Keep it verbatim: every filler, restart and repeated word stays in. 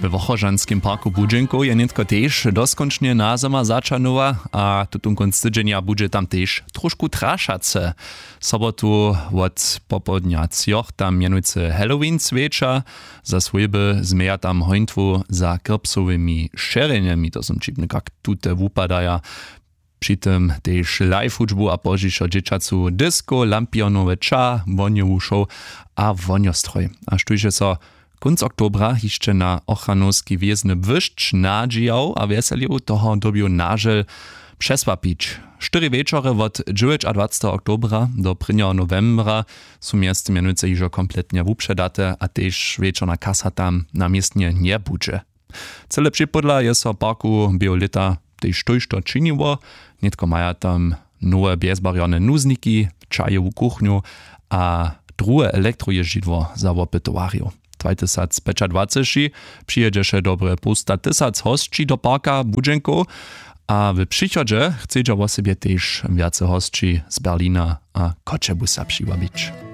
We wochožanskim parku budźenkow je nětko tež doskónčnje na zymar začanowa a tutón kónc tydźenja budźe tam tež trošku trašace. Sobotu wot popołdnja třoch tam mjenujcy halloween swěča. Za swójby změja tam hońtwu za krpsowymi šerjenjemi, to są ćipny kak tute wupadaja. Při tym tež live hudźbu a pozdźišo dźěćacu disko, lampionowe ča, wonjowu show a wonjostroj. A štóž je so kónc oktobra hišće na ochranowski wězny błyšć nadźijał a wjeselił, toho dyrbju nažel přesłapić. Štyri wječory wot dźewjećadwaceteho oktobra do prěnjeho nowembra su mjeztym mjenujcy hižo kompletnje wupředate a tež wječorna kasa tam na městnje njebudźe. Cyle připódla je so w parku běhu lěta tež tójšto činiło. Nětko maja tam nowe bjezbarjorne nuzniki, čajowu kuchnju a druhe elektrojězdźidło za wopytowarjow. Dwatysacpjećadwaceći přijědźeše dobre połsta tysac hosći do parka budźenkow a w přichodźe chcedźa wosebje tež wjace hosći z berlina a choćebusa přiwabić.